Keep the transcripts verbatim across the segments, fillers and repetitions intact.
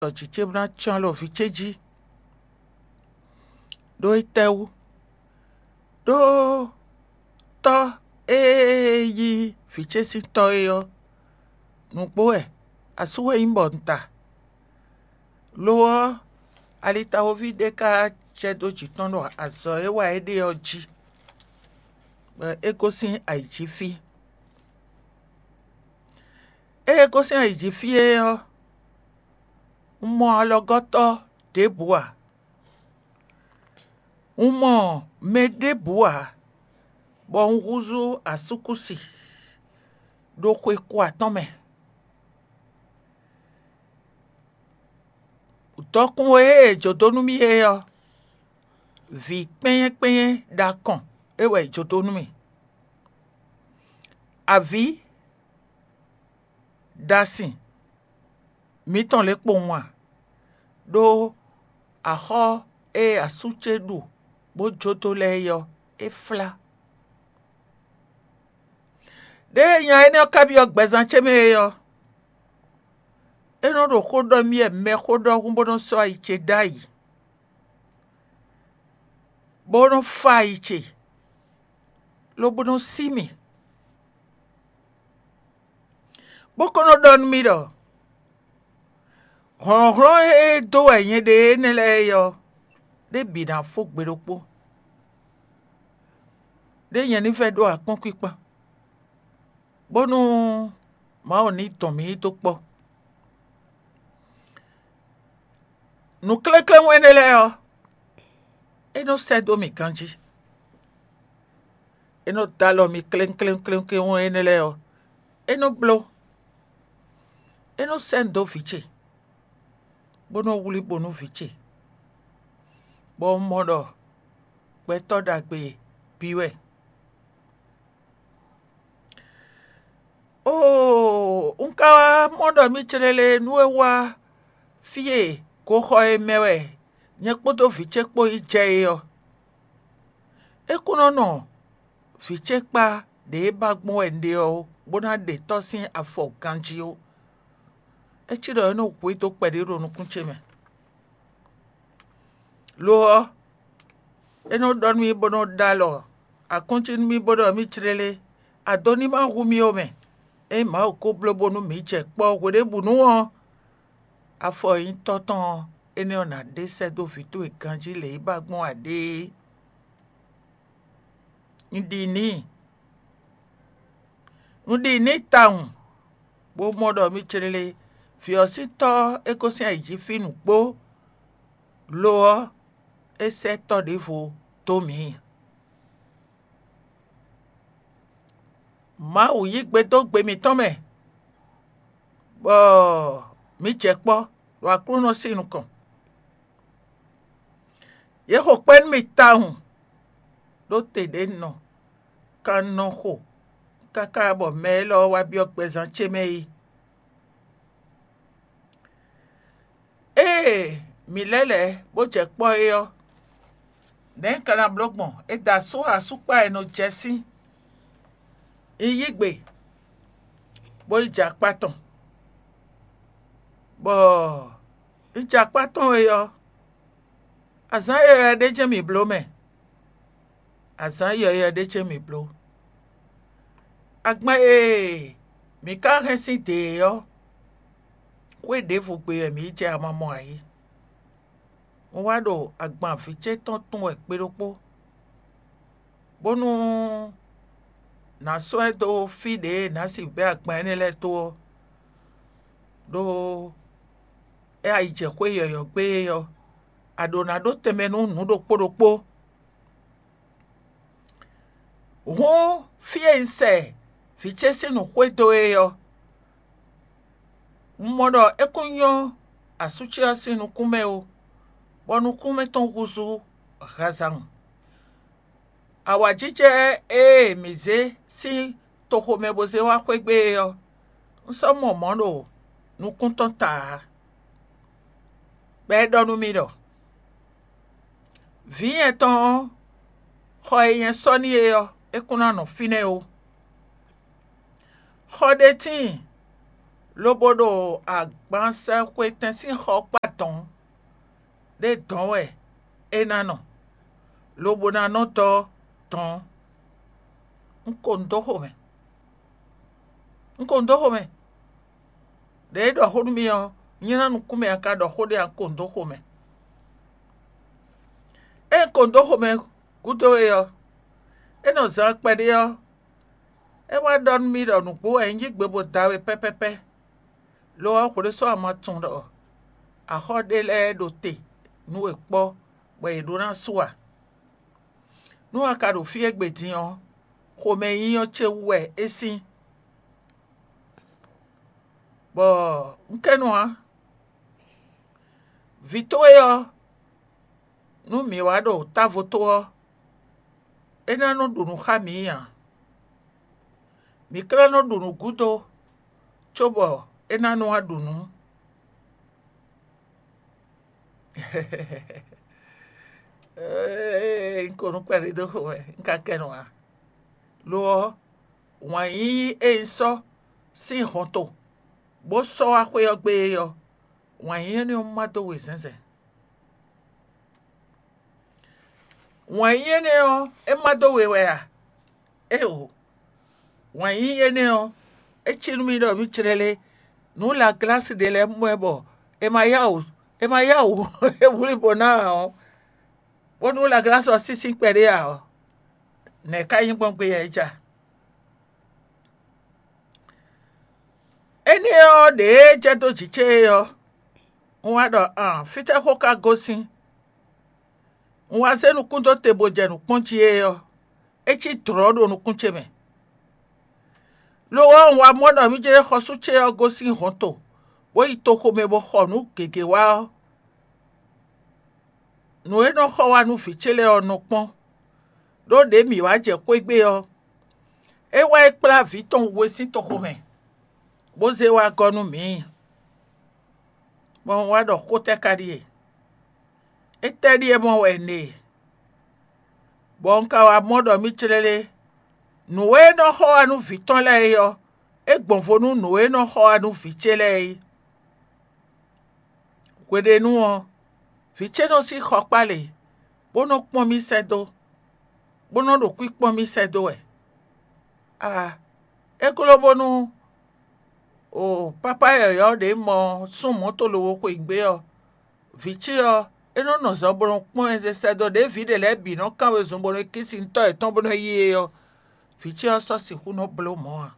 ɖɔ jǐ ce bó ná cyɔ́n alɔ vǐ ce jí. Ɖó étɛ́wú? Ɖó tɔ́ e yí vǐ ce sín tɔ́ é ɔ́, nǔgbó wɛ, asú wɛ nyí bɔ un ta. Lo ɔ́, alitawoví ɖé ka jɛ dó jǐ tɔn ɖo azɔ̌ e wa é ɖe ɔ́ jí, bɔ é gosín ayǐjínfí. Ée é gosín ayǐjínfí é ɔ́, un mɔ alɔgɔ́tɔ́ ɖěbǔ ǎ. Un mɔ mɛ ɖěbǔ ǎ, bɔ un húzú asúkúsi ɖo xwe ko atɔ́ɔ́n mɛ. Dɔkun e è jǒ dó nú mì é ɔ́, vǐ kpɛ́nyɛ́ kpɛ́nyɛ́ ɖo akɔn é wɛ è jǒ dó nú mì. Avǐ ɖo asin mǐtɔn lě kpowun a? Ɖó axɔ́ e asú ce ɖu bó jó dó lɛ́ɛ é ɔ́, é flá. Ɖěe nya énɛ́ ɔ́ ka byɔ́ gbɛzán ce mɛ é ɔ́, é nɔ ɖo xó ɖɔ mì wɛ mɛxó ɖɔhun bó nɔ sɔ́ ayi ce ɖ'ayǐ, bó nɔ fa ayi ce, lobo nɔ sí mì, bó ko nɔ ɖɔ nú mì ɖɔ hlɔ̌nhlɔ́n e dó wɛ nyɛ ɖe énɛ́ lɛ́ɛ é ɔ́, ɖé bǐ ná fó gbe ɖokpó, ɖé nyɛ ní vɛ́ ɖó akpɔ́nkwíkpɔ́n, bónú Mawu ní dɔn mǐ yi dó kpɔ́. Nǔklékléwún énɛ́ lɛ́ɛ ɔ́, é nɔ sɛ́ dó mì ganjí. É nɔ dó alɔ mì kléŋkléŋkléŋkléwún énɛ́ lɛ́ɛ ɔ́, é nɔ bló. É nɔ sɛ́ nu dó vǐ ce, bó nɔ wlí bo nú vǐ ce, bɔ un mɔ ɖɔ gbɛtɔ́ ɖagbe bǐ wɛ. Oo, un ka wá mɔ ɖɔ mì céɖéɖé nú é wá fí e goxɔ e mɛ wɛ nyɛ kpódó vǐ ce kpó yi jɛ é ɔ́. É kún nɔ nɔ vǐ ce kpá ɖě e ba gbɔn wɛ un ɖe ɔ́ ó, bó ná ɖe tɔ́ sín afɔ ganjí ó. É cí ɖɔ é nɔ hu i dó kpɛɖé ɖo nukún ce mɛ. Lo ɔ́, é nɔ ɖɔ nú mì bó nɔ ɖó alɔ akɔ́ncí nú mì bó ɖɔ mì cléle, ado ní ma hu mì ó mɛ. Ényí Mawu ko bló bónú mǐ jɛ kpɔ́ hweɖěbǔnu ɔ́, afɔ e nyí tɔ́ tɔn ɔ́, énɛ́ ɔ́ ná ɖe sɛ́ dó vǐ towe ganjí lě e ba gbɔn a ɖe é. Un ɖi n'i, un ɖi n'i tawun, bó mɔ ɖɔ mì cléle, vǐ ɔ́ sín tɔ́ ɔ́, é gosín ayǐ jí fí nǔgbó; lo ɔ́, é sɛ́ tɔ́ ɖěvo dó mǐ. Mawu yí gbe dó gbe mǐtɔn mɛ, bɔ mǐ jɛ kpɔ́ ɖo Aklúnɔ sín nukɔn. Yě xo kpɛ́ nú mì tawun, ɖó te ɖě un nɔ kan nɔ xo káká bɔ mɛ élɔ́ wá byɔ́ gbɛzán ce mɛ é. Ée mǐ lɛ́ lɛ̌ bó jɛ kpɔ́ é ɔ́, nɛ̌ un ka ná bló gbɔn? È da asú asúkpa e nɔ jɛ sín. Un yí gbe, bó yi jɛ akpá tɔn, bɔ un jɛ akpá tɔn é ɔ́, azǎn yɔ̌yɔ́ ɖé jɛ́n mǐ bló mɛ. Azǎn yɔ̌yɔ́ ɖé ce mǐ bló. Agban e mǐ ka hɛn sín dě é ɔ́, xwé ɖěvo gbe wɛ mǐ yi jɛ amamɔ ǎ é. Un wá ɖo agban vǐ ce tɔn tun wɛ gbe ɖokpó, bónú nǎ sɔ́ ɛ dó fí ɖě e nǎ sixú bɛ́ agban énɛ́ lɛ́ɛ dó ɔ́, ɖó é a yi jɛ xwé yɔ̌yɔ́ gbe é ɔ́, a ɖǒ ná ɖó tɛnmɛ nú nǔ ɖokpó ɖokpó. Hǔn fí e un sɛ vǐ ce sín nǔ xwedó é ɔ́, un mɔ ɖɔ é kún nyɔ́ asú ce ɔ́ sín nukún mɛ ó, bɔ nukún mɛ tɔn húzú hazan. Awǎjijɛ e mǐ zé sín toxo mɛ bó zé wá xwé gbe é ɔ́, un sɔ́ mɔ mɔ̌ ɖo nukún tɔn ta ǎ, bɔ é ɖɔ nú mì ɖɔ: Vǐ nyɛ tɔn ɔ́, xɔ e nyɛ sɔ́ n'i é ɔ́, é kún ná nɔ fínɛ́ ó. Xɔ ɖé tíin lobo ɖo agbansɛxwetɛn sín xɔkpá dɔ̌n ɖé dɔ̌n wɛ é ná nɔ, lobo ná nɔ dɔ́ dɔ̌n. Un ko nǔ dó xomɛ. Un ko nǔ dó xomɛ. Ɖě é ɖɔ xó nú mì ɔ́, nylá nukún mɛ a ka ɖɔ xó ɖé a ko nǔ dó xomɛ. Ée un ko nǔ dó xomɛ gúdo é ɔ́, é nɔ zán kpɛɖé ɔ́, é wá ɖɔ nú mì ɖɔ nǔgbó wɛ un yí gbe bó da we pɛ́pɛ́pɛ́. Lo ɔ́, hwlé sɔ́ a ma tunwun ɖɔ axɔ́ ɖé lɛ́ɛ ɖo te nú we kpɔ́ bɔ yě ɖó ná su a? Nú a ka ɖo fí égbé din ɔ́, xomɛnyínyɔ́ ce wú wɛ é sín. Bɔ un kɛ́ nɔ ǎ. Vǐ towe ɔ́, nú mǐ wá ɖo távo tó ɔ́, é ná nɔ ɖu nǔ xá mǐ ǎ. Mǐ ka ná nɔ ɖu nǔ gúdo, cóbɔ é ná nɔ wá ɖu nǔ. Ee, un ko nú kpɛɖé dó xo wɛ, un ka kɛ nɔ ǎ. Lo ɔ́, wǎn yíyí e un sɔ́ sín hɔnto, bó sɔ́ wá xwé ɔ́ gbe é ɔ́, wǎn yíyí énɛ́ ɔ́ má dó we zɛ̌nzɛ̌n. Wǎn yíyí énɛ́ ɔ́, é má dó we wɛ a? Éeǒ! Wǎn yíyí énɛ́ ɔ́, é cí nú mì ɖɔ mǐ clɛ́lɛ́ nǔ Laglási ɖé lɛ́ɛ mɔ ɛ bɔ è ma yá wǔ è ma yá wǔ é wlí bo ná ǎ ɔ́, bónú Laglási ɔ́ sísí kpɛɖé ǎ ɔ́, nɛ̌ ká nyí gbɔn gbé yɛ é ja? Énɛ́ ɔ́ ɖě e jɛ dó jǐ ce é ɔ́, un wá ɖɔ an fítɛ́ xó ka gosín? Un wá zé nukún dó te bó jɛ nǔ kpɔ́n jí é ɔ́, é cí dlɔ̌ ɖo nukún ce mɛ. Lo ɔ́, un wá mɔ ɖɔ mǐ jlɛ́ xɔsú ce ɔ́ gosín hɔnto, bó yi toxo mɛ bó xɔ nǔ gěgé wá ɔ́, nǔ e nɔ xɔ wá nú vǐ ce lɛ́ɛ ɔ́ nɔ kpɔ́n, ɖó ɖě mǐ wá jɛ xwé gbe ɔ́, é wá yi kplá vǐ tɔn we sín toxo mɛ, bó zé wá gɔ́ nú mǐ. Bɔ un wá ɖɔ xó tɛ́ ka ɖíe? Étɛ́ ɖíe mɔ wɛ un ɖe? Bɔ un ka wá mɔ ɖɔ mǐ clɛ́lɛ́ nǔ e nɔ xɔ wá nú vǐ tɔn lɛ́ɛ é ɔ́, é gbɔn vo nú nǔ e nɔ xɔ wá nú vǐ ce lɛ́ɛ é. Hweɖénu ɔ́, vǐ ce nɔ sín xɔ kpá lě, bó nɔ kpɔ́n mì sɛ́ dó, bó nɔ ɖo kwíkpɔ́n mì sɛ́ dó wɛ. Aa, é gló bónú o pápá yɔ̌yɔ́ ɖě mɔ sún mɔ̌to lobo xweyǐgbe ɔ́, vǐ ce ɔ́, é nɔ́ nɔ zɔ bó nɔ kpɔ́n ɛ zé sɛ́ dó ɖěe vǐ ɖě lɛ́ɛ bǐ nɔ kán wezun bó nɔ́ kí sin tɔ́ yětɔn bó nɔ́ yí é ɔ́, vǐ ce ɔ́ sɔ́ sixú nɔ́ bló mɔ̌ ǎ.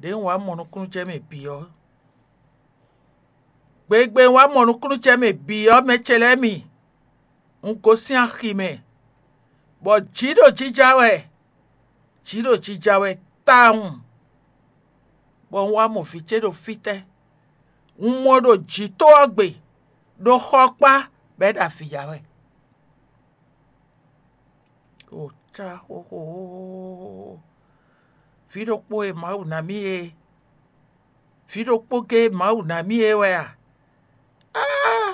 Ɖěe un wá mɔ nukúnnú jɛ mɛ bǐ ɔ́, gbegbe un wá mɔ nukúnnú jɛ mɛ bǐ ɔ́, mɛ ce lɛ́ɛ mi, un gosín axi mɛ, bɔ jǐ ɖo jija wɛ, jǐ ɖo jija wɛ tawun, bɔ un wá mɔ vǐ ce ɖo fítɛ́. Un mɔ ɖo jǐ tó ɔ́ gbe, ɖo xɔ kpá, bɔ é ɖo avǐ ya wɛ. O cá xóxó! Vǐ ɖokpó e Mawu ná mì é, vǐ ɖokpó géé Mawu ná mì é wɛ a? Áá!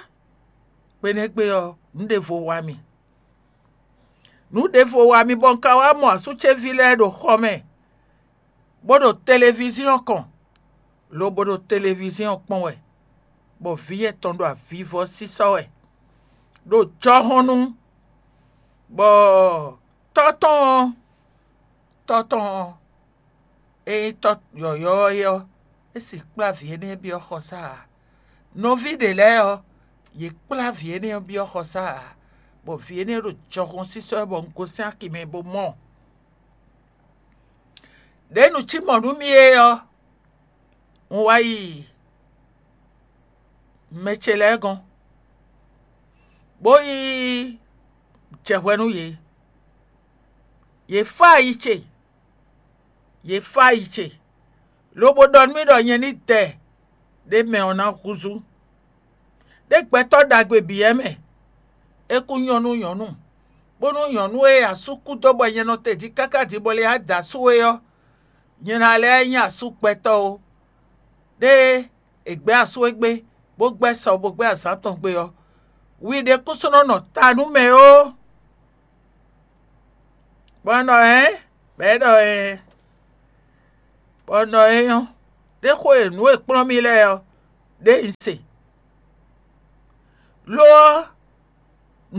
Kpenɛ́gbé ɔ́, nǔ ɖěvo wa mì. Nǔ ɖěvo wa mì bɔ un ka wá mɔ asú ce ví lɛ́ɛ ɖo xɔ mɛ, bó ɖo televíziɔn kɔn, lobo ɖo televíziɔn kpɔ́n wɛ, bɔ vǐ yɛtɔn ɖo avivɔ sísɔ́ wɛ, ɖo jɔhɔn nu, bɔ tɔ́ tɔn ɔ́, tɔ́ tɔn ɔ́, é nyí tɔ́ yɔ̌yɔ́ ɔ́ é ɔ́, é sixú kplá vǐ énɛ́ byɔ́ xɔsá ǎ. Nɔví ɖě lɛ́ɛ ɔ́, yě kplá vǐ énɛ́ ɔ́ byɔ́ xɔsá ǎ, bɔ vǐ énɛ́ ɖo jɔhɔn sísɔ́ wɛ bɔ un gosín axi mɛ bó mɔ. Ɖě nǔ cí mɔ̌ nú mì é ɔ́, un wá yi mɛ ce lɛ́ɛ gɔ́n, bó yi jɛ hwɛ nú yě. Yě fá ayi ce, yě fá ayi ce, lobo ɖɔ nú mì ɖɔ nyɛ ní dɛ ɖé mɛ ɔ́ ná húzú. Ɖé gbɛtɔ́ ɖagbe bǐ wɛ mɛ; é kún nyɔ́ nú nyɔ̌nu, bónú nyɔ̌nu e asú kú dó bɔ nyɛ nɔ te jí káká din bɔ lě da asú é ɔ́, nyɛ ná lɛ́ nyí asú gbɛtɔ́ ó. Ɖé e è gbɛ̌ asú é gbé, bó gbɛ́ sɔ bó gbɛ́ azǎn tɔn gbé ɔ́, wi ɖé kún sɔ́ nɔ nɔ ta nú mɛ ó. Bɔ un ɖɔ hɛ̌n, bɔ é ɖɔ ɛɛn. Bɔ nɔ e nyɔ́ ɖé xo e nǔ e kplɔ́n mì lɛ́ɛ ɔ́, ɖé un se. Lo ɔ́,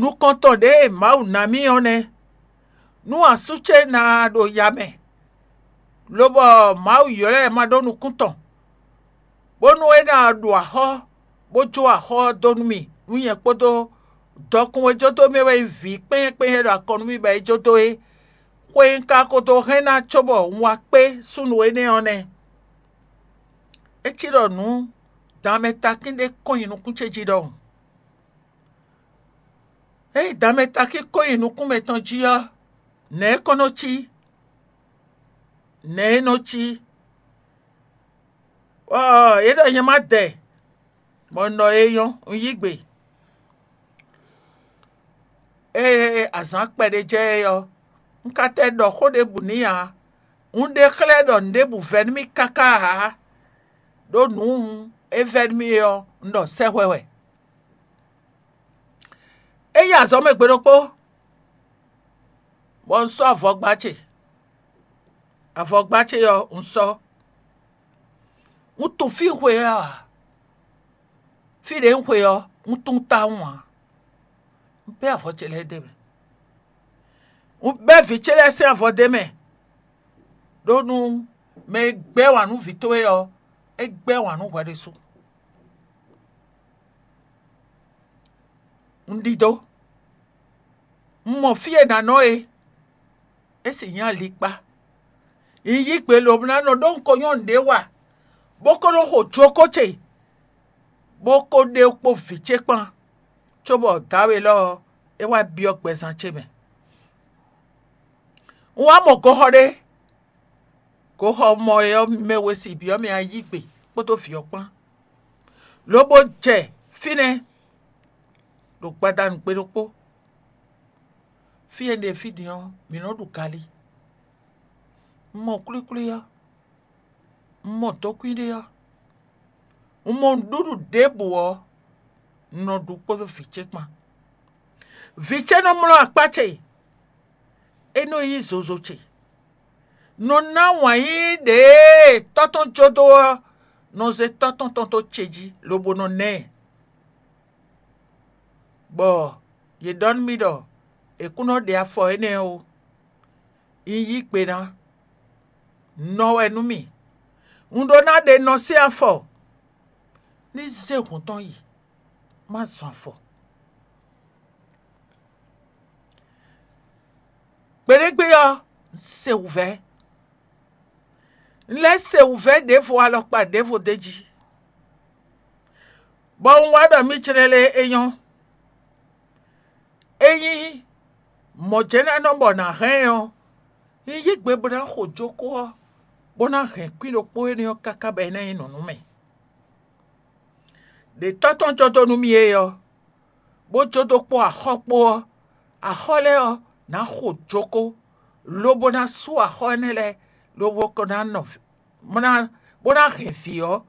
nukɔntɔn ɖě e Mawu ná mì ɔ́ nɛ́. Nú asú ce ná ɖo ya mɛ, lobɔ Mawu ylɔ́ ɛ ma ɖó nukún tɔn, bónú é ná ɖo axɔ́, bó jó axɔ́ ɔ́ dó nú mì, nú nyɛ kpódó dɔkun e jó dó mì wɛ nyí vǐ kpɛ́nyɛ́kpɛ́nyɛ́ ɖo akɔn nú mì bɔ é jó dó é. Xwe un ka ko dó hɛn ná cóbɔ un wá kpé súnnu énɛ́ ɔ́ nɛ́. É cí ɖɔ nǔ danmɛ takín ɖé kɔn nyi nukún ce jí ɖɔhun. Ényí danmɛ takín kɔn nyi nukún mɛtɔn jí ɔ́, nɛ̌ é kɔn nɔ cí? Nɛ̌ é nɔ cí? Ɔɔ, é ɖɔ nyɛ má dɛ, bɔ un ɖɔ é nyɔ́, un yí gbe. Ée azǎn kpɛɖé jɛ é ɔ́, un ka tɛ ɖɔ xó ɖěbǔ n'i ǎ. Un ɖe xlɛ́ ɖɔ nǔɖébǔ vɛ́ nú mì káká ǎ, ɖó nǔ e vɛ́ nú mì é ɔ́, un ɖɔ sɛ́hwɛ wɛ. É yi azɔ̌ mɛ gbe ɖokpó, bɔ un sɔ́ avɔgba ce. Avɔgba ce ɔ́, un sɔ́. Un tunwun fí un xwe ɔ́ ǎ. Fí ɖě un xwe ɔ́, un tunwun tawun ǎ. Un bɛ́ avɔ ce lɛ́ɛ d'é mɛ. Un bɛ́ vǐ ce lɛ́ɛ sín avɔ d'é mɛ, ɖó nú mɛ e gbɛ́ wǎn nú vǐ towe ɔ́, é gbɛ́ wǎn nú hwɛ ɖésú. Un ɖidó. Un mɔ fí e nǎ nɔ é; é sì nyí alikpá. Un yí gbe lobo ná nɔ ɖó un ko nyɔ́ nǔɖé wa, bó ko ɖó xo jokó ce, bó ko ɖe kpó vǐ ce kpán, cóbɔ dǎwe lɔ ɔ́, é wá byɔ́ gbɛzán ce mɛ. Un wá mɔ goxɔ ɖé. Goxɔ mɔ é ɔ́, mɛ we si byɔ́ mɛ ayígbe kpódó vǐ ɔ́ kpán, lobo jɛ fínɛ́ ɖo gbadanu gbe ɖokpó. Fí e un ɖe fí din ɔ́, mǐ nɔ́ ɖu galí. Un mɔ kwlíkwlí ɔ́, un mɔ dɔkwín ɖé ɔ́, un mɔ nǔɖuɖu ɖěbǔ ɔ́, un nɔ ɖu kpódó vǐ ce kpán. Vǐ ce nɔ mlɔ́ akpá ce, é nɔ yí zozo ce. Nɔ ná wǎn yíyí ɖě e tɔ́ tɔn jó dó ɔ́ nɔ zé tɔ́ tɔn tɔn dó ce jí, lobo nɔ ná ɛ. Bɔ yě ɖɔ nú mì ɖɔ è kún nɔ ɖe afɔ énɛ́ ó. Un yí gbe ná, nɔ wɛ nú mì. Un ɖó ná ɖe nɔ sín afɔ, ní zé hǔn tɔn yi, má zɔn afɔ. Gbeɖégbé ɔ́, un se wǔvɛ́. Un lɛ́ se wǔvɛ́ ɖěvo alɔkpa ɖěvo d'é jí, bɔ un wá ɖɔ mì jlɛ́ lé é nyɔ́. Ényí mɔ̌ jɛ́n ná nɔ bɔ nǎ hɛn ɛ ɔ́, un yí gbe bó ná xo jókó ɔ́, bó ná hɛn kwín ɖokpó énɛ́ ɔ́ káká bɔ é ná nyí nǔ nú mì. Ɖě tɔ́ tɔn jɔ dó nú mì é ɔ́, bó jó dó kpó axɔ́ kpó ɔ́, axɔ́ lɛ́ɛ ɔ́, nǎ xo jókó, lobo ná sú axɔ́ énɛ́ lɛ́ɛ, lobo ko ná nɔ bó ná bó ná hɛn vǐ ɔ́,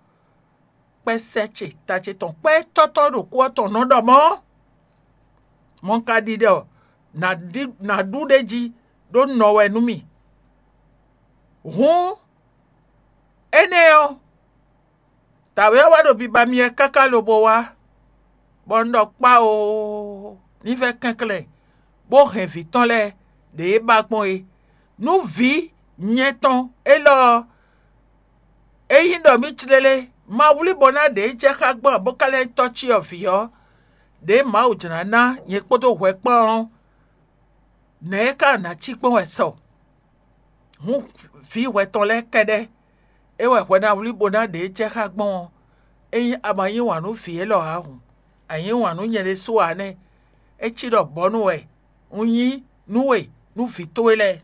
kpɛ́ sɛ́ ce ta ce tɔn kpɛ́ tɔ́tɔ́ ɖo kú ɔ́ tɔn nɔ ɖɔ mɔ̌. Mɔ̌ un ka ɖi ɖɔ nǎ ɖu ɖ'é jí ɖó nɔ wɛ nú mì. Hǔn énɛ́ ɔ́, dǎwe ɔ́ wá ɖo biba mì wɛ káká lobo wá, bɔ un ɖɔ kpá oo, ní vɛ́ kɛnklɛ́n, bó hɛn vǐ tɔn lɛ́ɛ ɖě é ba gbɔn é. Nú vǐ nyɛ tɔn élɔ́ ɔ́, ényí ɖɔ mì tlélé ma wlí bɔ ná ɖě jɛ xá gbɔn ǎ, bó ka lɛ́ nyí tɔ́ cyɔ vǐ ɔ́, ɖěe Mawu jlǎ ná nyɛ kpódó hwɛ kpán ɔ́, nɛ̌ é ka ná cí kpɔ́n wɛ sɔ? Hǔn vǐ hwɛ tɔn lɛ́ɛ kɛ́ɖɛ́ é wɛ hwɛ ná wlí bó ná ɖě jɛ xá gbɔn ɔ́, ényí a ma yí wǎn nú vǐ élɔ́ ǎ hǔn, a yí wǎn nú nyɛ ɖésú ǎ nɛ́. É cí ɖɔ bɔ̌nu wɛ un nyí nú we nú vǐ towe lɛ́ɛ.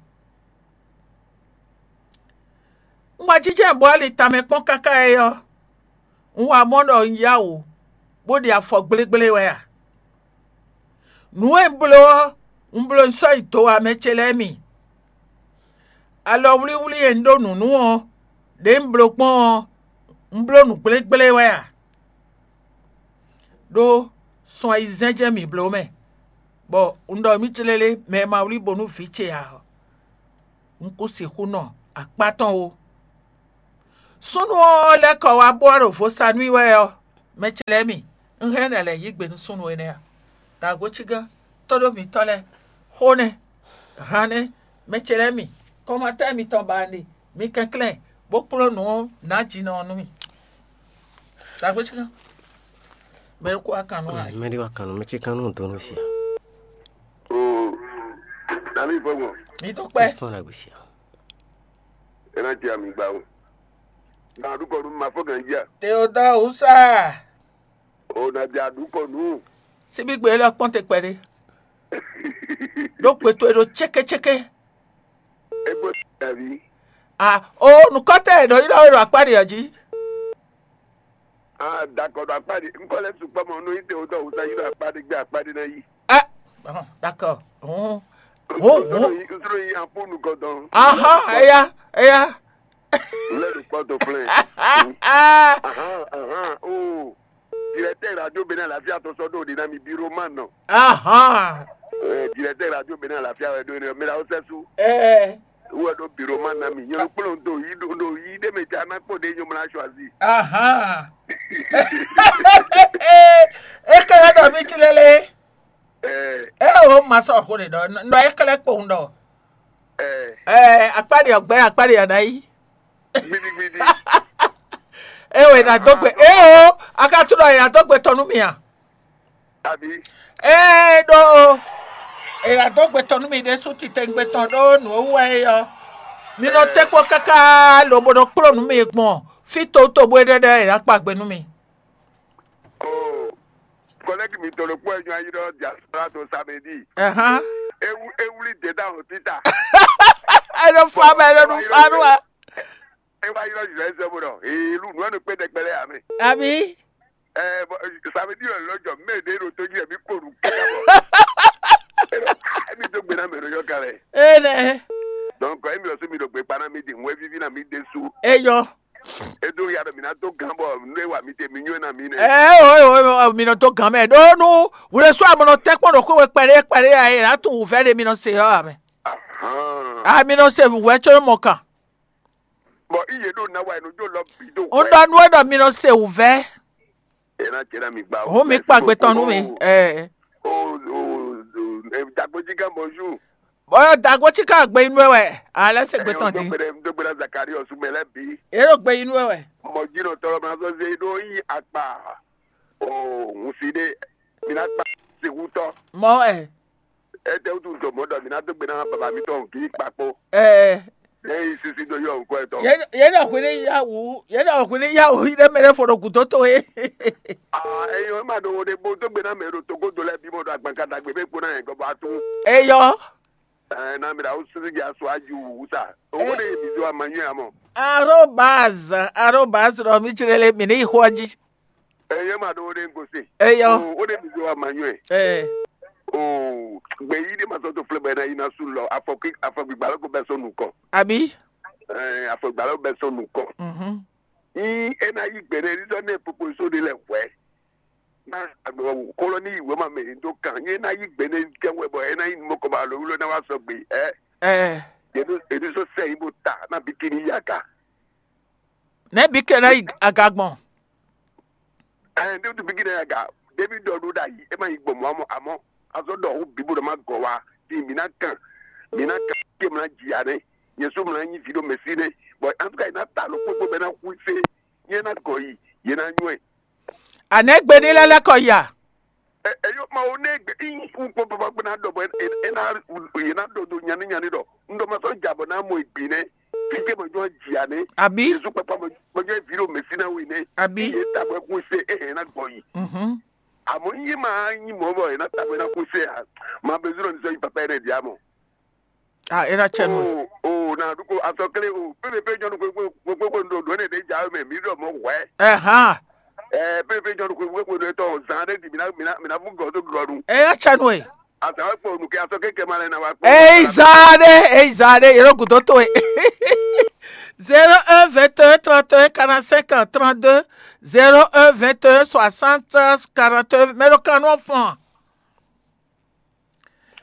Un wá jínjɔ́n bó ali tamɛ kpɔ́n káká é ɔ́, un wá mɔ ɖɔ un yá wǔ, bó ɖi afɔ gblégbléé wɛ a? Nǔ e un bló ɔ́, un bló un sɔ́ yi do wá mɛ ce lɛ́ɛ mi. Alɔwlíwlí e un ɖó nǔ nú ɔ́, ɖě un bló gbɔn ɔ́, un bló nǔ gblégbléé wɛ a? Ɖó sun ayizɛ́n jɛ́n mǐ bló mɛ, bɔ un ɖɔ mì tlélé mɛ e ma wlí bo nú vǐ ce ǎ ɔ́, un kún sixú nɔ akpá tɔn ó. Súnnu ɔ́ lɛ́ kɔ wá bó wá ɖo vo sa nú i wɛ ɔ́, mɛ ce lɛ́ɛ mi, un hɛn nɛ lɛ̌ yí gbe nú súnnu énɛ́ a? Dǎgbócígán, tóɖó mǐtɔn lɛ́ɛ, xó nɛ́, han nɛ́, mɛ ce lɛ́ɛ mi, kɔnmatɛ́ mitɔn ba ne, mi kɛnklɛ́n, bó kplɔ́n nǔ ɔ́ nǎjinɔ ɔ́ nú mì. Dǎgbócígán, mɛ ɖokpó wá kan nú a? Mɛ ɖé wá kan nú mɛ ce kan nú dó nú sia. Oo, nani fɔgbɔn. Mi tó kpɛ. Fɔn la gbèsè. E na jẹ ami gba o. Na dukɔ nu ma fɔ gan jia. Teodoro Usa. O na jẹ dukɔ nu. Síbí gbé lɔ kpɔn te kpɛɖé. Ɖó kpɛtɔ e ɖo cékécéké. E gbɔ davi. Ah, o nukɔtɛ e ɖo yi ɖɔ e ɖo akpá ɖe ɔ́ jí. Ah, dakɔ ɖo akpá ɖe. Nkɔ lɛ sukpɔ mɔ nú yi Teodoro Usa yi ɖo akpá ɖe gbé akpá ɖe na yi. Ah, bon, d'accord. Hum. Hum, hum. Nsoro yi aƒu nukɔ dɔn. Aha, eya, eya. Lɛ ɖo kpɔ to flɛ. Aha, aha, oh. Directeur radio Bénin Alafia to sɔ do de na mi biro man nɔ. Aha. Eh, directeur radio Bénin Alafia wɛ do ne mi la o sɛ su. Eh. Wɛ do biro man na mi. Nyɔ kplɔn do yi do do yi de me ja na kpɔ de nyɔ mla choisi. Aha. E kɛlɛ dɔ mi ci lele. Eh. E o ma sɔ ko de dɔ. Nɔ e kɛlɛ kpɔn dɔ. Eh. Eh, akpali ɔgbɛ, akpali anayi. Gbidigbidi. E wɛ na dó gbe. E o, a ka tunɔ ya dó gbe tɔn nú mi a? Abi. Ee ɖó, e wɛ na dó gbe tɔn nú mi ɖésú titewungbe tɔn ɖó nǔ e wú wɛ é ɔ́. Mi nɔ tɛ́ kpɔ́ káká lobo nɔ kplɔ́ nǔ mi gbɔn fí towútowú bó é ɖɛ́ ɖɛ́ e ná kpa gbe nú mi. Oh, collègue mi to le kpɔ enyo ayi ɖɔ diaspora to samedi. Ɛhán. Ewu ewuli de da o tita. Ɛnɔ fa mɛ ɛnɔ nu fa nu wa. E wa yi lɔ yi lɔ sɛ bo dɔ. Ee lu nu anu kpe dɛgbɛ lɛ ame. Abi. Ɛ bɔ samedi lɔ lɔ jɔ mɛ de ɖo to ji mi ko nu kaka bɔ. Emi do gbe na mɛ ɖo yɔ ka lɛ. Ee nɛ. Donc emi lɔ so mi ɖo gbe kpa na mi di ŋu evivi na mi de su. Eyɔ. Edo ya ɖɔ mi na do gan bɔ nu e wa mi te mi nyɔ na mi nɛ. Ɛ o o o mi nɔ to gan mɛ ɖó nú wle sɔ amɔ nɔ tɛ kpɔn ɖo kó we kpɛɖé kpɛɖé ya e la tún wǔvɛ́ ɖe mi nɔ se ɔ́ amɛ. Ahan. A mi nɔ se wǔvɛ́ tso mɔ kan. Bɔ iye ɖo na wa enu jo lɔ bi do. Un ɖɔ nú we ɖɔ mi nɔ se wǔvɛ́. E na jɛ na mi gba. Hɔn mi kpa gbetɔn nú mi. Ɛ. O o o dagboji gan bonjour. Bɔyɔ dagbo tí ká gbe inú ɛ wɛ, alẹ́ se gbe tɔn di. Dogbe dogbe na Zakari ɔsùn mɛ lɛ bi. Èrò gbe inú ɛ wɛ. Mɔ jìnnà tɔlɔ ma sɔ se ɖo yi akpa. O ŋun si ɖe mi na kpa sixutɔ. Mɔ ɛ. Ete wutu dɔmɔ dɔ mi na dogbe na baba mi tɔn kì í kpakpo. Ɛ. Ne yi sisi do yɔ nkɔ etɔ. Yɛn yɛn na hwele yawu yɛn na hwele yawu yi ɖe mɛ ɖe fo ɖo gǔdo to ye. Aa eyɔ ema ɖo wo ɖe bo dogbe na mɛ ɖo togodo lɛ bi mɔ ɖo agbankadagbe bɛ kpo na yɛn gɔbɔ atu. Eyɔ. Ɛɛ na mi ɖe awu susu dzi asu adzi wu sa. Owó ɖe mi zɔ ama nyuie amɔ. Arobaz arobaz ɖɔ mi tsirele mi ní xɔ dzi. Ɛyɛ ma ɖo wo ɖe ŋgose. Eyɔ. Wo ɖe mi zɔ ama nyuie. Ɛɛ. O gbe yi ɖe ma sɔ to flɛ bɛ na yi na su lɔ afɔkui afɔgbigba lɔ ko bɛ sɔ nukɔ. Abi. Ɛɛ afɔgbigba lɔ bɛ sɔ nukɔ. Mhm. Yi e na yi gbe ɖe ɖiɖɔ ne popo so ɖe lɛ hwɛ. Na agbɛwɔ kolo ni yi wema mɛ do kan ye na yi gbe ne kɛ wɛ bɔ e na yi mɔkɔ ba lo wlo na wa sɔ gbe ɛ Ɛɛ. Yedu yedu so sɛ yi bo ta na bikini ya ka. Ne bi ke na yi aga gbɔn. Ɛ ne du bikini ya ka David dɔ do da yi e ma yi gbɔn mɔ amɔ amɔ azɔ dɔ hu bibo dɔ ma gɔ wa di mi na kan mi na kan ke mla jia ne yesu mla nyi vi do mesi ne bɔn an tout cas yi na ta lo kpokpo bɛ na hu se ye na gɔ yi ye na nyɔɛ. Anɛgbe ní lɛ́lɛ́ kɔ ya. Ɛ ɛ yɔ ma wo ne gbe in un kpɔ papa gbe na dɔ bɔ e e na ye na dɔ do nyani nyani dɔ n dɔ ma sɔ ja bɔ na mɔ egbe nɛ fi ke mɔ jɔ jia ne Abi. Yesu papa mɔ mɔ jɔ vi ɖo mesi na we ne Abi. Ye ta bɔ kun se e hɛn na gbɔ yi Mhm. Amɔ n ye ma nyi mɔ bɔ ye na ta bɔ na kun se a ma bɛ zuro ni sɔ yi papa yɛ ne dia mɔ. Ah, era chenu. Oh, oh, na duko asɔkle o. Pele pe jɔnu kwe kwe kwe kwe ndo do ne de ja me mi do mo hwe. Aha. Eh, pele pe jɔnu kwe kwe kwe do to zan de di mina mina mina bu go do go nu. Era chenu e. Asa wa kpɔ nu ke asɔkle ke ma le na wa kpɔ. Ei zade, ei zade, yero gudo to e. Zéro un vingt et un trente et un quarante-cinq trente-deux, zéro un vingt et un soixante quarante-deux, mais le canon fond.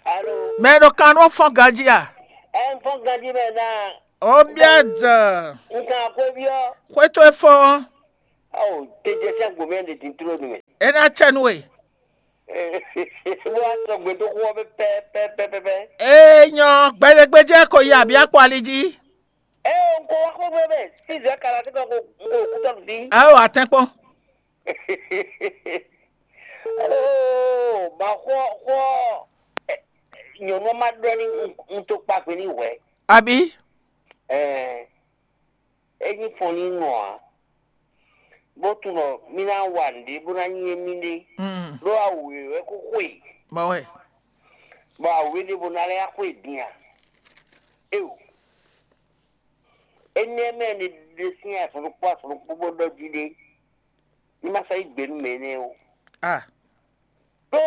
Alo. Mais le canon fond, Gadia. Ɛ n fɔ́n ganjí mɛ ná Obiadze. Nkan akwɛ́ byɔ́. Xwé towe fɔ́n. Awo tejɛ sɛn gbomɛ ɖe din tló nu mɛ. É ná cɛ nú we. Bó wá sɔ gbɛdóxó ɔ́ pɛpɛpɛpɛpɛ. Ee nyɔ, gbɛɖegbejɛ ko yi abí akpɔ ali jí. Ɛ o nko wá xó gbé mɛ. Sísè kala tí kò nko kútɔ bí. Awo atɛnkpɔn. Oo ma xɔ xɔ nyɔnu ma ɖɔ ni n to kpagbe ni hwɛ. Abí. Ɛɛ enyi fɔn ni nɔ a bó tunɔ mi ná wa nǔɖé bó ná nyí émí ɖé. Mm. Ɖó awu wěwé kó xwe. Mɔ wɛ. Bɔ awu wě ɖé bó ná lɛ́ xwe dín a. Eo. Énɛ́ mɛ ni ɖe sín asɔnukpó asɔnukpó bó ɖɔ jí ɖé. Ní ma sɔ́ yí gbě nú mɛ énɛ́ o. Ah. Ɖó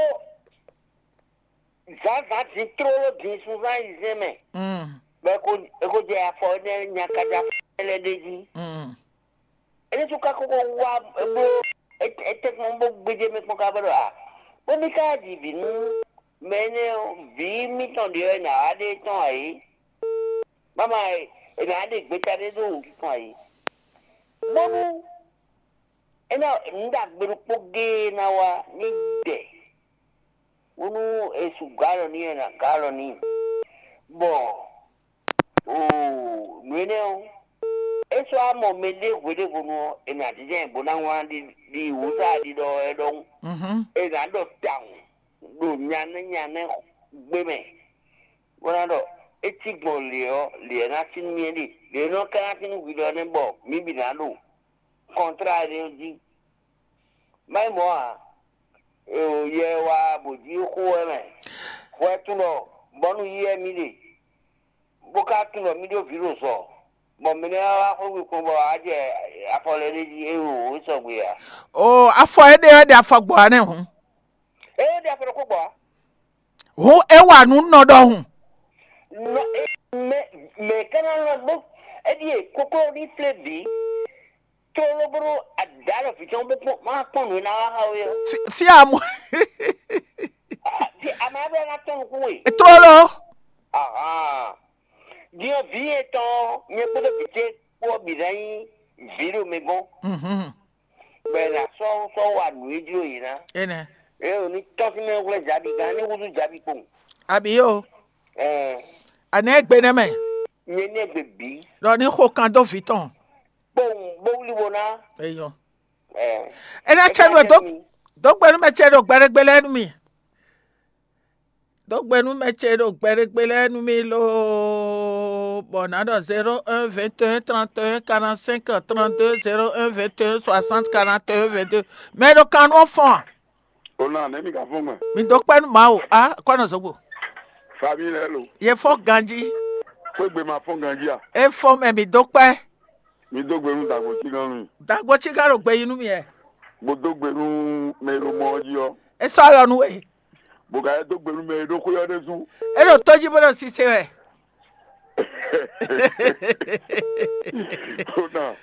zǎnzǎn din tlóló din sunzán ayizɛ́n mɛ. Mm. Bɔ é ko é ko jɛ afɔ énɛ́ nyakaja lɛ́ɛ ɖé jí. Mm. Énɛ́ sú ka kókó wá bló étɛ́kpɔ́n bó gbéjé mɛ kpɔ́n ká bɔ ɖɔ a bó mí ká ɖi vǐ nú mɛ énɛ́ ɔ́, vǐ mítɔn ɖě ɔ́ è nǎ wá ɖe tɔn ǎ é. Máma è nǎ ɖe gbeta ɖé ɖó wǔtu tɔn ǎ é. Bónú é ná nǔ ɖagbe ɖokpó géé ná wá ní dɛ bónú è su gǎ alɔ n'i wɛ è nǎ gǎ alɔ n'i. Bɔ oo nǔ énɛ́ ɔ́, é sɔ́ wá mɔ mɛɖé hweɖěhwenu ɔ́, è nǎ jínjɔ́n ɛ bó ná wlán ɖi ɖi wǔzá ɖiɖɔ ɛ ɖɔhun. Mhm. È nǎ ɖɔ tawun ɖo nyanɛ́ nyanɛ́ gbé mɛ, bó ná ɖɔ é cí gbɔn lě ɔ́, lě ɔ́ ná cí nú mì é ɖe, lě ɔ́ nɔ ka ná cí nú hwi ɖɔ nɛ́ bɔ mǐ bǐ ná ɖo kɔntrá énɛ́ ɔ́ jí. Má nyí mɔ̌ ǎ, è o yɛ wá bǒ jí xó wɛ mɛ. Hwɛ tunɔ bɔnu yí wɛ mì ɖe, bó ka tunɔ mì ɖó vǐ ɖo zɔ, bɔ mɛ nɛ́ wá xwé kpɔn bɔ á jɛ afɔ lɛ́ɛ ɖé jí é o é sɔgbe ǎ. O afɔ éɖé wɛ ɖe afɔ gbɔ ane hǔn. É ɖe afɔ ɖokpó gbɔ ǎ. Hǔn é wa nǔ nɔ ɖɔhun. Nɔ é mɛ mɛ kɛnɛ lɔ bó é ɖíe kókó ní flé bǐ. Tlóló bó ɖó adǎ lɔ vǐ tɔn bó kpɔn má kpɔn nǔ e ná wá xá we ɔ́. Fia mo. Ame aɖe ná tɔn nukún we. Tlóló. Ahan. Din ɔ́ vǐ etɔn ɔ́, nyɛ kpódó vǐ ce kpó ɔ́ bǐ ná nyí vǐ ɖo mi gɔ́n. Mhm. Bɔ è nǎ sɔ́ sɔ́ wa nǔ e jló yě ná. Énɛ́. Eye ò ní tɔ́n sín mɛ hwlɛ́ Jabi gán ní húzú Jabi kpowun. Abí o. Ɛɛ Anɛ gbe nɛ mɛ. Nyɛ ní ɛgbɛ bǐ Ɖɔ ní xo kan dó vǐ tɔn. kpowun bó wlí wo ná. Eyɔ. Ɛɛ Énɛ́ cɛ nú ɛ dó dó gbe nú mɛ ce ɖo gbɛɖegbe lɛ́ɛ nú mi. Dó gbe nú mɛ ce ɖo gbɛɖegbe lɛ́ɛ nú mi loo. Bɔ nǎ ɖɔ zéro un vingt et un trente et un quarante-cinq trente-deux zéro un vingt et un soixante quarante et un vingt-deux. Mɛ ɖo kan nú ɔ́ fɔn a? O na ne mi ka fɔn gbɛ. Mi dó kpɛ́ nú Mawu. A kɔnɔ zogbo. Fabi lɛ lo. Ye fɔn ganji. Kó egbe ma fɔn ganji a. E fɔn mɛ mi dó kpɛ́. Mi dó gbe nú dàgbò tí gan mi. Dagbo tí ká ɖo gbe yi nú mi ɛ. Bó dó gbe nú mɛ e ɖo mɔ ɔ́ jí ɔ́. E sɔ́ alɔ nú we. Bó ka yɛ dó gbe nú mɛ e ɖo xwé ɔ́ ɖésú. E ɖo tó jí bó ɖo sise wɛ. Tó náà.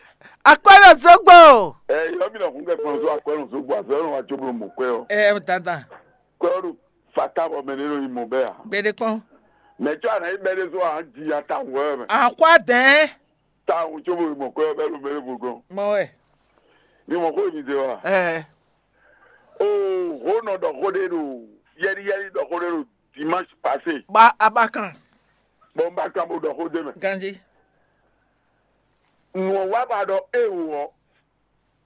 Akwɛ́ ɖo zogbo. Ɛ yɔ mi nɔ kún kɛ kplɔn só akwɛ́ nɔ só gbɔ azɔ yɔ nɔ wa tso blo mɔ kwɛ ɔ. Ɛ dandan. Kwɛ ɔ ɖo fata bɔ mɛ ne nɔ yi mɔ bɛ a. Gbeɖe kpɔn. Mɛ tsɔ ana yi bɛ ɖe só a di ya ta wɔ mɛ. Akwa dɛn. Ta wɔ tso blo mɔ kwɛ ɔ bɛ lo mɛ ɖe bo gɔn. Mɔ wɛ. Mi mɔ ko mi de wa. Ɛ O ho nɔ ɖɔ xó ɖe ɖo yɛli yɛli ɖɔ xó ɖe ɖo dimanche passé. Ba abakan. Bɔn ba kan bo ɖɔ xó de mɛ. Ganji. Nùɔ wa ba ɖɔ e wò ɔ.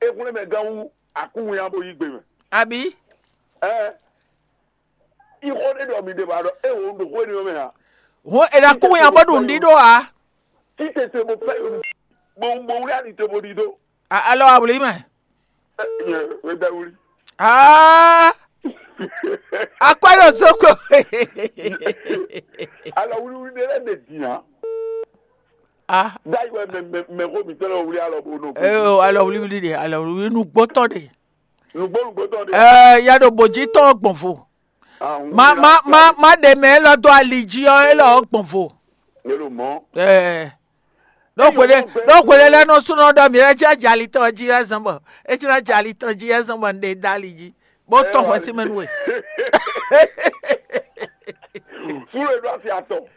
Ekunlɛ mɛ gán wú akúnwin abo yí gbe mɛ. Abi. Ɛ ixɔ ɖe ɖɔ mi ɖe ba ɖɔ e wò ɖo xó ni mɛ a. Ho eɖa kún ya bɔ ɖu ŋdi ɖo a. Títete mo fẹ́ yòó. Mo mo wúlé àní tó mo di dó. Alɔ awuli mɛ. Ẹ ẹ bẹ wuli. Aa. Akwɛ ɖo zoko. Alɔ wuliwuli ɖe lɛ ɖe dìnyà. Ah. Dayi wɛ mɛ mɛ mɛ ko mi tɛlɛ wuli alɔ bo no. Ee alɔ wuliwuli de alɔ wuliwuli nugbótɔ de. Nugbo nugbo tɔn de. Ɛɛ ya ɖo bòjì tɔn gbɔn vo. Ma ma ma ma ɖe mɛ elɔ dó ali jí ɔ elɔ gbɔn vo. Ne lo mɔ. Ɛɛ. Ɖo hwele ɖo hwele lɛ nɔ sunɔ ɖɔ mi lɛ dzi adzali tɔn dzi azɔn bɔ etsi na adzali tɔn dzi azɔn bɔ n ɖe da ali dzi. Bó tɔ hwɛ sí mɛ nú we. Fúlẹ̀ ló àti àtọ̀.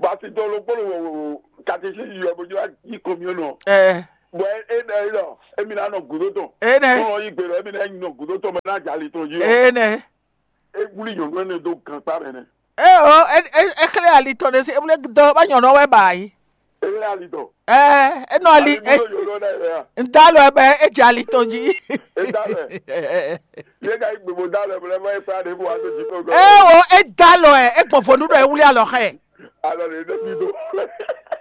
Bàtí tọ́ ló gbọ́dọ̀ wọ̀ wọ̀ wọ̀. Katechísi yɔ bó jlá yí kɔmyɔnɔ. Ɛ, Bɔ é ɖɔ é ɖɔ émi ná nɔ gǔdo tɔn. É nɛ́. Tɔn yí gbe ɖɔ émi ná nɔ gǔdo tɔn mɛ ná jà ali tɔn jí ɔ. É nɛ́. É wlí nyɔ̌nu énɛ́ dó gankpá mɛ nɛ́. É o, é é é xlɛ́ ali tɔn ɖé sí ebúlé dɔ bá nyɔ̌nu ɔ́ wɛ ba yí. É lé ali tɔn. Ɛ, é nɔ ali é Búló nyɔ̌nu ɔ́ ɖ'ayǐ wɛ a? Ŋdá lɔ ɛ bɛ é dze ali tɔn jí. É dá lɛ. Yé ka yí gbogbo dá lɛ bɔ lɛ bɔ é kpá ɖěbǔ wá dó jǐ tɔn gɔ́. É o, é dá lɔ ɛ, é gbɔn vo nú ɖɔ é wlí alɔ xɛ. Alɔ ɖě ɖe mí dó.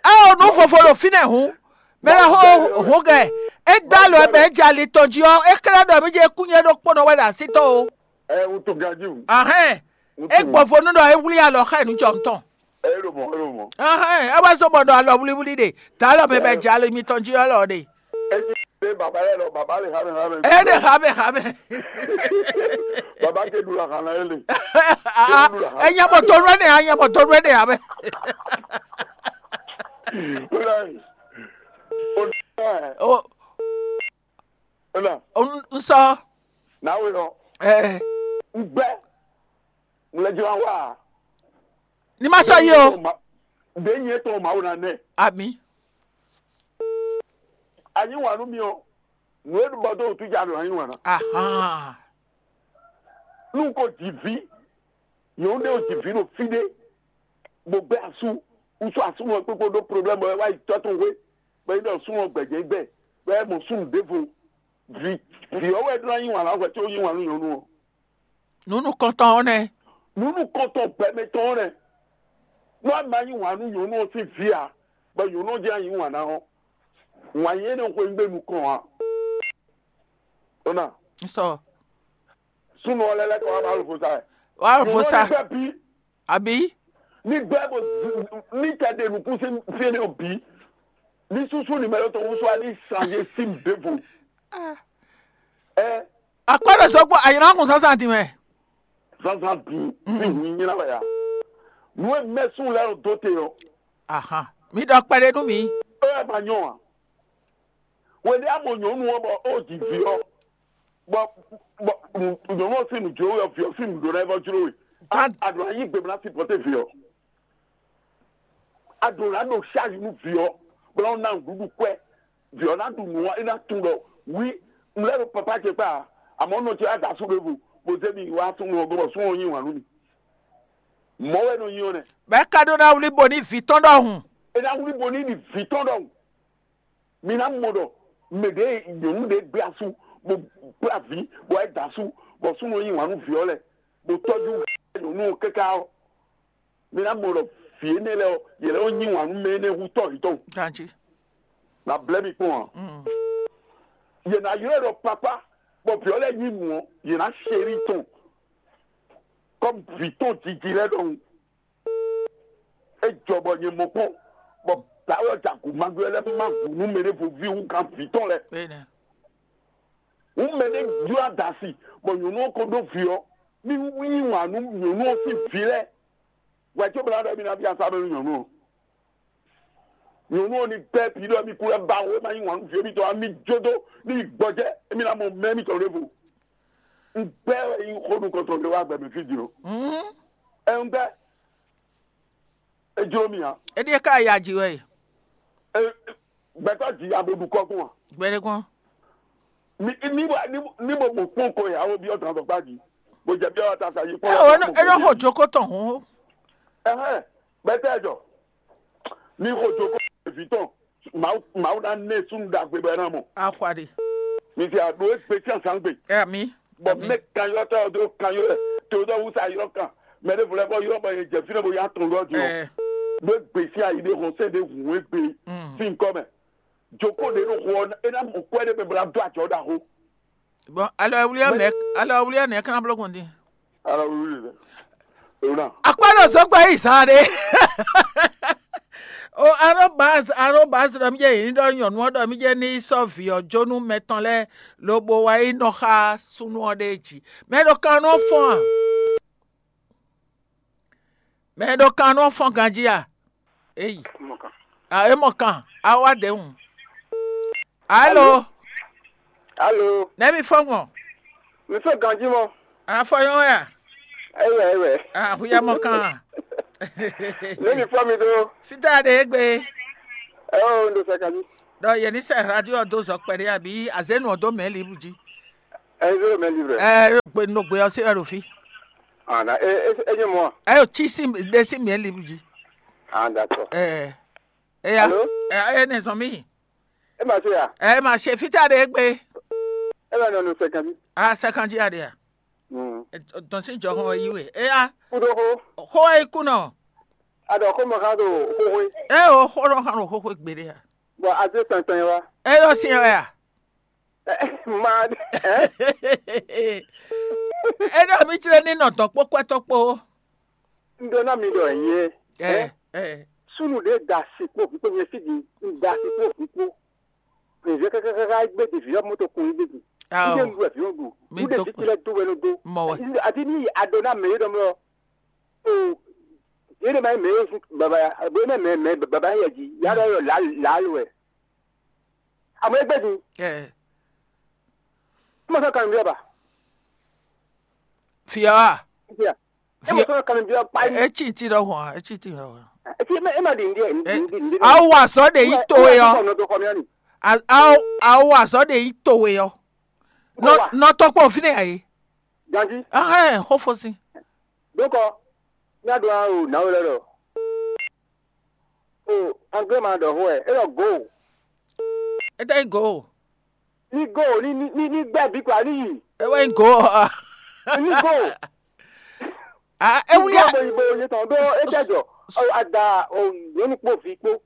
É o, nú vovo ɖo fínɛ́ hǔn. Mɛ lɛ xo hǔn gɛ. É dá lɔ ɛ bɛ é dze ali tɔn jí ɔ́, é xlɛ́ ɖɔ mí jɛ kúnyɛ ɖokpónɔ wɛ ɖo así tɔn o. Ɛ wutu ganjí wǔ. Ahɛn. É gbɔn vo nú ɖɔ é wlí alɔ xá nǔ jɔ tɔn. É ɖo mɔ̌, é ɖo mɔ̌. Ahɛn, é wá zɔ́n bɔ ɖɔ alɔ wlíwlí ɖe. Dǎ alɔ mɛ bɛ jɛ alɔ mitɔn jí ɔ́ lɔ ɖe. É jí pé bàbá lɛ́ɛ lɔ bàbá lè xá mɛ xá mɛ. É ɖe xá mɛ xá mɛ. Bàbá ke ɖu la xá ná é le. Aa, é nyɛ bɔ tɔnu ɛnɛ, á nyɛ bɔ tɔnu ɛnɛ ame. Ó dá ẹ̀. Ó dá ẹ̀. O Ó dá. N sɔ. Náwó lɔ. Ɛ. Ń gbẹ́. Ŋlɛjɔ wa. Ní má sɔ yí o. Ɖe nyɛ tɔn Mawu na nɛ. Ami. Anyi wà nú mi ɔ. Nù e bɔ dó wútu ja ɖo anyi wà ná. Ahan. Nú ko jì ví. Nyɔ̌nu ɖé o jì ví ɖo fí ɖé. Bó gbé asú. Wútu asúnú ɔ kpékpé ɖó problème bɔ é wá yi tɔ́ tɔn hwé. Bɔ é ɖɔ súnnu ɔ gbɛ̌jɛ́ gbɛ. Bɔ é mɔ súnnu ɖěvo. Vǐ vǐ ɔ́ wɛ ɖó ná yí wǎn lá hwɛ có yí wǎn nú nyɔ̌nu ɔ́. Nǔ nukɔntɔn ɔ́ nɛ́. Nǔ nukɔntɔn gbɛmɛ tɔn ɔ́ nɛ́. Nú a ma yí wǎn nú nyɔ̌nu ɔ́ sín vǐ ǎ, bɔ nyɔ̌nu ɔ́ jɛ́n yí wǎn ná ɔ́, wǎn yɛ́ nɔ xweyígbe nukɔn ǎ. Ó nà Sɔ. Súnnu ɔ́ lɛ́ lɛ́ kɔ wá Mawu vo sa wɛ. Wá vo sa. Nyɔ̌nu ɔ́ ní gbɛ́ bí. Àbí? Ní gbɛ́ bó ní tɛ ɖe nǔkún sín fí énɛ́ ɔ́ bǐ. Ní súsú ní mɛ lɔ tɔn wúsú wá ní sanjé sín ɖěvo. Ɛ Akpɔ́ ɖo sɔ́ kpó ayǐláhùn zǎnzǎn din mɛ. Zǎnzǎn din ní hun nyí ná wɛ ya. Nǔ e mɛ sún lɛ́ɛ ɖo dó te ɔ́. Ahan. Mi ɖɔ kpɛɖé nú mi. É wɛ ma nyɔ a? Wɛɖé a mɔ nyɔ̌nu ɔ́ bɔ ó ji vǐ ɔ́, bɔ bɔ nyɔ̌nu ɔ́ sín nǔ jló we ɔ́, vǐ ɔ́ sín nǔ ɖó ná é vɔ jló we. A ɖǒ ná yí gbe bó ná sipɔ́té vǐ ɔ́. A ɖǒ ná ɖo ṣáàyí nú vǐ ɔ́, bó ná ná nǔɖuɖu kwɛ́. Vǐ ɔ́ ná ɖu nǔ ɔ́, é ná tunwun ɖɔ wí un lɛ́ ɖo papá ce kpá ǎ, amɔ̌ nɔ ce wá da asú ɖěvo, bó zé mi wá súnnu ɔ́ gɔ́ bɔ súnnu ɔ́ yí wǎn nú mi. Mɔ̌ wɛ nɔ nyi ɔ́ nɛ́. Bɔ é ka ɖó ná wlí bo ní vǐ tɔn ɖɔhun. É ná wlí bo ní ɖi vǐ tɔn ɖɔhun. Mi ná mɔ ɖɔ mɛ ɖě nyɔ̌nu ɖě gbé asú, bó kplá vǐ, bɔ é da asú, bɔ súnnu ɔ́ yí wǎn nú vǐ ɔ́ lɛ́ɛ, bó tɔ́jú nyɔ̌nu ɔ́ káká ɔ́, mi ná mɔ ɖɔ vǐ énɛ́ lɛ́ɛ ɔ́, yě lɛ́ nɔ yí wǎn nú mɛ énɛ́ hú tɔ́ yětɔn. Ganjí. Na blɛ́ mi kpɔ́n ǎ. Mm. Yě ná ylɔ́ ɛ ɖɔ papá, bɔ vǐ ɔ́ lɛ́ɛ nyí nǔ ɔ́, yě ná chéri tɔn. Kɔ́m vǐ tɔn jiji lɛ́ɛ ɖɔhun. É jɔ bɔ nyɛ mɔ kpɔ́n, bɔ dǎwe ɔ́ ja gǔ magbe lɛ́ɛ má gǔ nú mɛ ɖěvo ví hú gán vǐ tɔn lɛ́ɛ. Énɛ́. Hǔn mɛ ɖé jló adasi, bɔ nyɔ̌nu ɔ́ ko ɖó vǐ ɔ́, ní yí wǎn nú nyɔ̌nu ɔ́ sín vǐ lɛ́ɛ. Hwɛ có bla ɖɔ émí ná byɔ́ asá mɛ nú nyɔ̌nu ɔ́. Nyɔ̌nu ɔ́ ní gbɛ́ bǐ ɖɔ émí kú lɛ́ ba wǒ, é má yí wǎn nú vǐ émítɔn ǎ, mí jó dó ní yi gbɔjɛ́, émí ná mɔ mɛ émítɔn ɖěvo. Un gbɛ́ wɛ nyí xó nukɔntɔn ɖé wá gbɛ mɛ fí din ɔ́. Mhm. Ɛ un gbɛ́. É jló mì ǎ. É ɖíe ká ya ji wɛ e. Ɛ, gbɛtɔ́ ji abo ɖu kɔ gbɔn a? Gbɛɖe gbɔn. Mi ní bɔ ní ní bɔ mo kpɔn ko ya wo byɔ́ dán dɔgba ji. Mo jɛ byɔ́ ta sa yi kpɔn. Ɛ o, é nɔ xo joko tɔn hɔn. Ɛhɛn, gbɛtɛ jɔ. Mi xo joko vi tɔn. Mawu mawu ná nɛ sunu ɖagbe bɛ ná mɔ. Axwa ɖe. Mi ti a ɖo egbe tí a sàn gbe. Ɛ mi. Bɔ mɛ kan yɔ tɔ do kan yɔ tɔ do wusa yɔ kan. Mɛ ɖe vlɛ bɔ yɔ bɔ ye jɛ fi ne bo ya tɔn yɔ di o. Ɛ. Ɖo egbe sí ayi ɖe hɔn sɛ ɖe hun egbe. Mm. Sí nkɔ mɛ. Joko ɖe ɖo xɔ ɛ ná mɔ kɔ ɖe mɛ bla do ajɔ ɖa xo. Bon, alɔ wuli ɛ mɛ alɔ wuli ɛ nɛ kana blɔ kɔn din. Alɔ wuli ɛ. Ona. Akpɔ ɖo zɔgba yi zan ɖe. O arobas arobas ɖɔ mi jɛ yi ɖɔ nyɔnu ɔ ɖɔ mi jɛ ni sɔ vi ɔ jonu mɛtɔn lɛ lobo wa yi nɔ xa sunu ɔ ɖe ji. Mɛ ɖo kan nɔ fɔn a? Mɛ ɖo kan nɔ fɔn ganji a? Eyi. A e mɔ kan a wa de hun. Alo. Alo. Nɛ mi fɔ gbɔn. Mi fɔ ganji mɔ. A fɔ yɔn ya. Eyi eyi. A hu ya mɔ kan. Ne mi fɔ mi do. Fita de egbe. Eo, un ɖo sɛkanjú. Ɖɔ yě ní sɛ radio ɔ́ dó zɔ kpɛɖé abǐ azénu ɔ́ dó mɛ̌ libre jí. Ɛ zéro mɛ libre. Ɛ gbe no gbe ɔ́ sí wɛ ɖo fí. Ana e e e nyɛ mɔ. Ɛ yɔ tí sí ɖe sí mɛ̌ libre jí. Ah, d'accord. Ɛ ɛ ya. Alo? Ɛ ɛ nɛ zɔn mí. E ma se ya. Ɛ ma ṣe fítá ɖe gbé. E ma nɔ no sɛkanjú. A sɛkanjí aɖe ya. Mm. Dɔn sí jɔ hɔn yi we. E ya. Kudo ho. Xó e kú nɔ. A ɖɔ xó mɔ xá ɖo xóxó. E o xó nɔ xá ɖo xóxó gbeɖé ya. Bɔ a zé tɛntɛn wa. E ɖɔ sí ɛ ya. Ma ɛ. E ɖɔ mi tlɛ ní nɔ dɔn kpó kwɛtɔ kpó. Un ɖó ná mi ɖɔ nyɛ. Ɛ ɛ. Súnnu ɖé da asi kpó vǐ kpó nyɛ fí ɖi un da asi kpó vǐ kpó. Ɖevi kákákáká gbé ɖevi ɔ́ moto kun yí gbé ɖi. Ao. Ndé nu wɛ vǐ ɔ́ ɖu. Mi nu ɖe dó vǐ kpɛ. Lɛ́ dó wɛ nɔ dó. Mɔ wɛ. Adi ní ado ná mɛ yé ɖɔ mlɔ. O yé ɖe ma nyí mɛ yé sú baba ya bo yé mɛ mɛ mɛ baba yɛ dzi ya ɖɔ yɔ lǎ lǎ lo wɛ. Àmọ́ é gbé din. Ɛ. Ó mọ̀ sọ́nà kan nìyẹn bá. Fìyà wà. Fìyà. É mọ̀ sọ́nà kan nìyẹn bá. Ɛ tí tí lọ hàn, ɛ tí tí lọ hàn. Ẹ ti ẹ ma di ndíẹ ndí ndí. Awo azɔ de yi to we yɔ. Nɔ dɔ kɔ mi ani. Awo azɔ de yi to we yɔ. Nɔ tɔkpɔ fi ne ayi. Ganji. Ahɛn xofo si. Dokɔ. Ní a dɔn awo náwó lɛ lɔ. O anglais ma ɖɔ xó ɛ, é ɖɔ go. Ete go. Ní go ní ní ní ní gbɛ bí kwa ní yi. Ewe go. Ní go. Ah, ewu ya. Bo yi bo yi tɔn ɖó é jɛ jɔ. Ada o nyɔnu kpó vi kpó.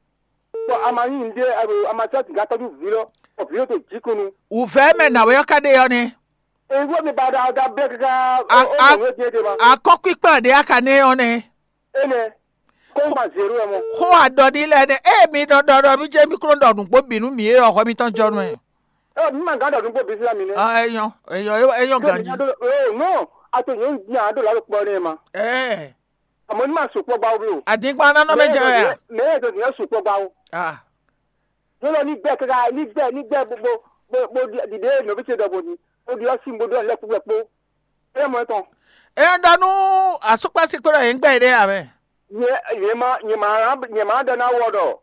Bɔ a ma nyí nɖé a ma sɔ́ sika tɔ́jú vǐ lɔ, bɔ vǐ lɔ to jǐkunu. Wǔvɛ́ mɛ nǎwe ɔ́ ka ɖe ɔ́ nɛ́. Èyí wọ́n mi ba da da blẹ́ kíká. Akɔ́kpíkpá ɖé a ka nɛ́ ɔ́ nɛ́. Énɛ́, kó ma zě ɖó ɛ mɔ. Xó aɖɔ ní lɛ́ɛ nɛ́. Ée mi nɔ ɖɔ ɖɔ mí jɛ mí kúnɔ ɖɔ nǔgbó bǐ nú mǐ é ɔ́, hwɛ mitɔn jɔ nú ɛ. Ɛ mi ma gán ɖɔ nǔgbó bǐ sílá mi nɛ́. Ah, é nyɔ́, é nyɔ́, é nyɔ́ ganjí. Nɔ, nɔ, a to nyɔ̌nu jí a ɖo lǎ ɖo kpɔ nɛ́ ma. Ɛɛ. Àmọ́ ní ma sukpɔ́ gbá wú lo. Àdínkpá nánú mɛ jẹ́ wɛ a? Mɛ yɛ dɔn ní sukpɔ́ gbá wú. Ah. Yóò lọ ní gbɛ kára ní gbɛ ní gbɛ bó bó bó bó dìde nɔbí ce dɔbò ní. Ó di ɔsí bó dɔn lɛkpó lɛkpó. É mɔ tɔn. E ɖɔ nú asúkpásí kpé ɖɔ yě ń gbɛ yě ɖe ǎ mɛ. Nyɛ nyɛ ma nyɛ ma nyɛ ma ɖɔ ná wɔ ɖɔ.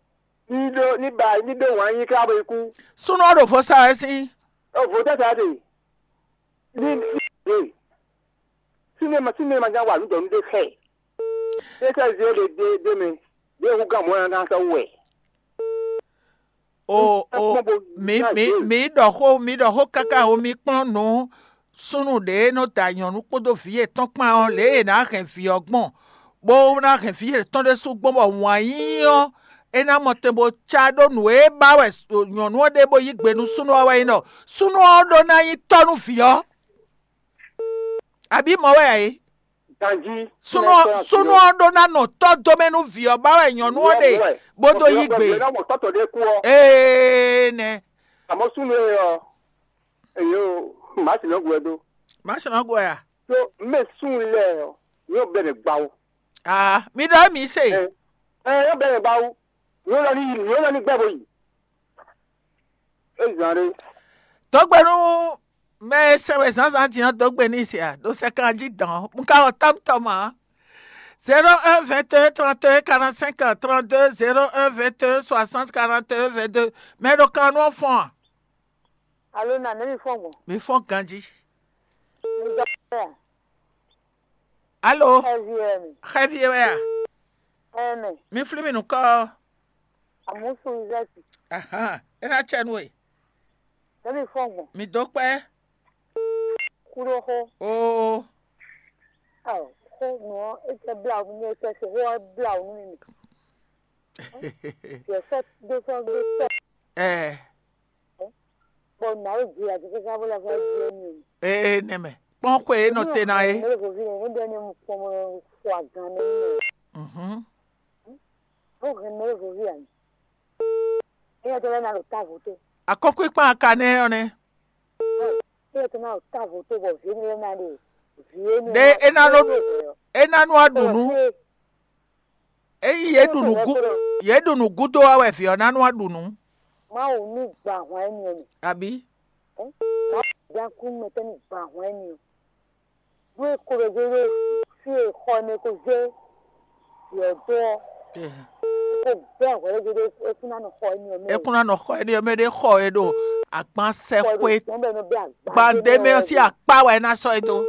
Ní ɖó ní ba ní ɖó wǎn yí ká bó yi kú. Súnú ɔ́ ɖo vo sa wɛ sín. Ó vo tɛ́ sa ɖe. Ní ní ɖe. Sín ní ma sín ní ma nya wa nǔ dɔn nú ɖé xɛ. Ɖé sɛ́ zé ɖe ɖe ɖe mɛ. Ɖé hu gán mɔ̌ ná ná sɔ́ wɛ. O o mi mi mi ɖɔ xó mi ɖɔ xó káká o mi kplɔ́n nǔ súnnu ɖě e nɔ da nyɔ̌nu kpódó vǐ yětɔn kpán ɔ́ lě e è nǎ hɛn vǐ ɔ́ gbɔn, bó ná hɛn vǐ yětɔn ɖésú gbɔn bɔ wǎn yíyí ɔ́ é ná mɔ tɛn bó cá ɖó nǔ e ba wɛ nyɔ̌nu ɔ́ ɖe bó yí gbe nú súnnu ɔ́ wɛ nyí ɖɔ súnnu ɔ́ ɖó ná nyí tɔ́ nú vǐ ɔ́. Abǐ mɔ̌ wɛ ǎ é? Ganjí. Súnnu ɔ́ súnnu ɔ́ ɖó ná nɔ tɔ́ dó mɛ nú vǐ ɔ́ ba wɛ nyɔ̌nu ɔ́ ɖe bó dó yí gbe. Ná mɔ tɔ́tɔ ɖé kú ɔ́. Ee nɛ. Àmọ́ súnnu e ɔ èyí o màá sì lọ́gùn ɛ dó. Má ṣe náà gbọ́ ya. Tó mɛ súnnu lɛ ɔ yóò bẹ̀rẹ̀ gbawo. Ah, mi ɖɔ mi se. Ɛ ɛ yóò bẹ̀rẹ̀ gbawo. Yóò lọ ní yóò lọ ní gbẹ́ bó yìí. É zàn rè. Dɔgbe nú mɛ e sɛn wɛ zǎnzǎn din ɔ́ dó gbe n'i se a ɖo sɛkan jí dɔn un ka wɔ tɔ́mtɔ́ mɔ. Zéro un vingt et un trente et un quarante cinq trente deux zéro un vingt et un soixante quarante et un vingt deux. Mɛ ɖo kan nú ɔ́ fɔ́n a? Alo na nɛ mi fɔ́n gbɔn? Mi fɔ́n ganjí. Mi dɔ pɛ a? Alo? Xɛvi wɛ mi. Xɛvi wɛ a? Ɛmɛ. Mi flí mi nukɔ. Amusu Izaki. Ahan. E na cɛ nu e. Nɛ mi fɔ́n gbɔn? Mi dó kpɛ. Kuɖo xó. Oo. Ao, xó nǔ ɔ́ é jɛ bla mi nú é sɛ́ se xó ɔ́ bla nú mi. Yɛ sɔ́ dó sɔ́ dó sɔ́. Ɛ. Bɔ nǎwe ji ati káká bó lɛ́ fɔ jí émi. Ee nɛmɛ kpɔn xwe e nɔ te na é. Mɛ vovi ne ne bɛ ne mu kpɔn mɔ xɔ agan ne mi. Mhm. Bó hɛn mɛ vovi ani. Eya tɛ lɛ na ɖo ta voto. Akɔkɔ ikpan aka nɛ ɔ nɛ. Eya tɛ na ɖo ta voto bɔ vi ne lɛ na ɖe vi ne. Ɖe e na nɔ e na nɔ aɖu nu. Eyi yě ɖu nǔ gú yě ɖu nǔ gúdo wá wɛ vǐ ɔ́ ná nú aɖu nǔ. Mawu ní gba ahwan énɛ́ mɛ. Abǐ. Mawu dán kú mɛ tɛ́ ní gba ahwan énɛ́ ɔ́. Ɖó é ko ɖo dó ɖó fí e xɔ énɛ́ ko zé vǐ ɔ́ dó ɔ́. Kó bɛ́ hwɛ̌ ɖé é kún ná nɔ xɔ éní ɔ́ mɛ. É kún ná nɔ xɔ éní ɔ́ mɛ ɖé xɔ é ɖo agbansɛxwe Sɛn bɛ nɔ bɛ́ agba. gbandé mɛ ɔ́ sín akpá wɛ é ná sɔ́ é dó.